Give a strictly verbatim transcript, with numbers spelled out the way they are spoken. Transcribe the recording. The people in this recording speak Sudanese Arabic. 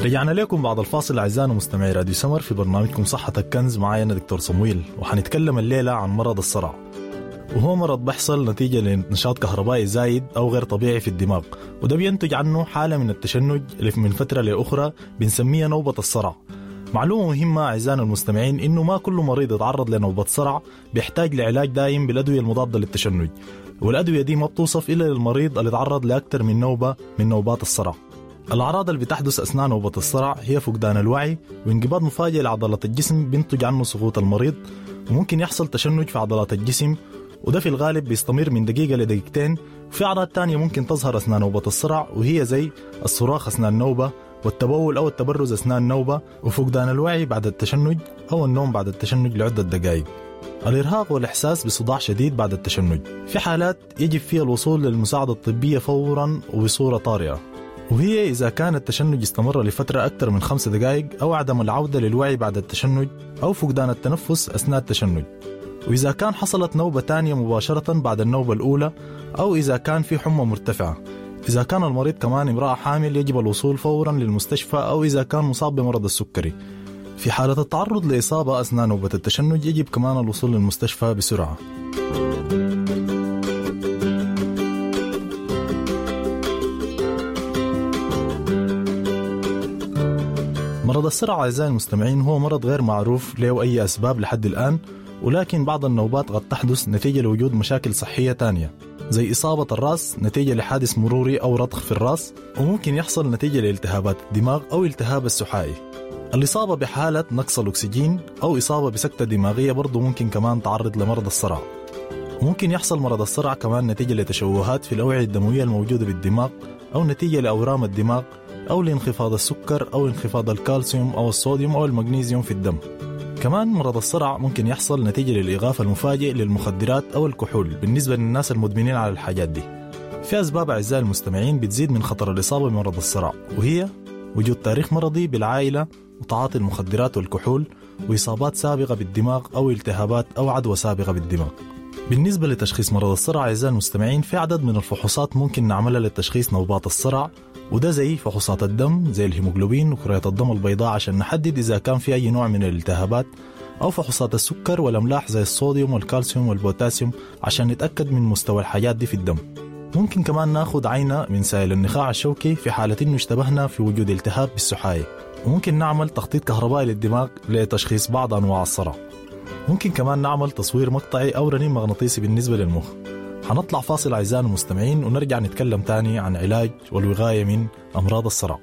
رجعنا لكم بعد الفاصل أعزائنا مستمعي راديو سمر في برنامجكم صحتك كنز، معايا أنا دكتور صمويل، وحنتكلم الليلة عن مرض الصرع، وهو مرض بيحصل نتيجة لنشاط كهربائي زايد أو غير طبيعي في الدماغ، وده بينتج عنه حالة من التشنج اللي من فترة لأخرى بنسميها نوبة الصرع. معلومة مهمة أعزائنا المستمعين إنه ما كل مريض يتعرض لنوبة صرع بيحتاج لعلاج دائم بالأدوية المضادة للتشنج، والأدوية دي ما بتوصف إلا للمريض اللي تعرض لأكثر من نوبة من نوبات الصرع. الأعراض اللي بتحدث أثناء نوبة الصرع هي فقدان الوعي وانقباض مفاجئ لعضلات الجسم بينتج عنه سقوط المريض، وممكن يحصل تشنج في عضلات الجسم، وده في الغالب بيستمر من دقيقة لدقيقتين. وفي أعراض تانية ممكن تظهر أثناء نوبة الصرع، وهي زي الصراخ أثناء النوبة والتبول أو التبرز أثناء النوبة وفقدان الوعي بعد التشنج أو النوم بعد التشنج لعدة دقائق، الإرهاق والإحساس بصداع شديد بعد التشنج. في حالات يجب فيها الوصول للمساعدة الطبية فورا وبصورة طارئة، وهي إذا كان التشنج استمر لفترة أكثر من خمس دقائق أو عدم العودة للوعي بعد التشنج أو فقدان التنفس أثناء التشنج، وإذا كان حصلت نوبة تانية مباشرة بعد النوبة الأولى، أو إذا كان في حمى مرتفعة. إذا كان المريض كمان امرأة حامل يجب الوصول فورا للمستشفى، أو إذا كان مصاب بمرض السكري. في حالة التعرض لإصابة أثناء نوبة التشنج يجب كمان الوصول للمستشفى بسرعة. مرض الصرع أعزائي المستمعين هو مرض غير معروف له أي أسباب لحد الآن، ولكن بعض النوبات قد تحدث نتيجة لوجود مشاكل صحية تانية زي إصابة الرأس نتيجة لحادث مروري أو رضخ في الرأس، وممكن يحصل نتيجة لالتهابات الدماغ أو التهاب السحائي. الإصابة بحالة نقص الأكسجين أو إصابة بسكتة دماغية برضو ممكن كمان تعرض لمرض الصرع. ممكن يحصل مرض الصرع كمان نتيجة لتشوهات في الأوعية الدموية الموجودة بالدماغ، أو نتيجة لأورام الدماغ، أو لانخفاض السكر أو انخفاض الكالسيوم أو الصوديوم أو المغنيسيوم في الدم. كمان مرض الصرع ممكن يحصل نتيجة للإغاثة المفاجئ للمخدرات أو الكحول بالنسبة للناس المدمنين على الحاجات دي. في أسباب أعزائي المستمعين بتزيد من خطر الإصابة بمرض الصرع، وهي وجود تاريخ مرضي بالعائلة وتعاطي المخدرات والكحول وإصابات سابقة بالدماغ أو التهابات أو عدوى سابقة بالدماغ. بالنسبة لتشخيص مرض الصرع أعزائي المستمعين في عدد من الفحوصات ممكن نعملها لتشخيص نوبات الصرع، وده زي فحوصات الدم زي الهيموغلوبين وكريات الدم البيضاء عشان نحدد إذا كان في أي نوع من الالتهابات، أو فحوصات السكر والأملاح زي الصوديوم والكالسيوم والبوتاسيوم عشان نتأكد من مستوى الحاجات دي في الدم. ممكن كمان ناخد عينة من سائل النخاع الشوكي في حالة إنه اشتبهنا في وجود التهاب بالسحاية، وممكن نعمل تخطيط كهربائي للدماغ لتشخيص بعض أنواع الصرع. ممكن كمان نعمل تصوير مقطعي أو رنين مغناطيسي بالنسبة للمخ. هنطلع فاصل أعزائنا المستمعين ونرجع نتكلم تاني عن علاج والوقاية من أمراض الصرع.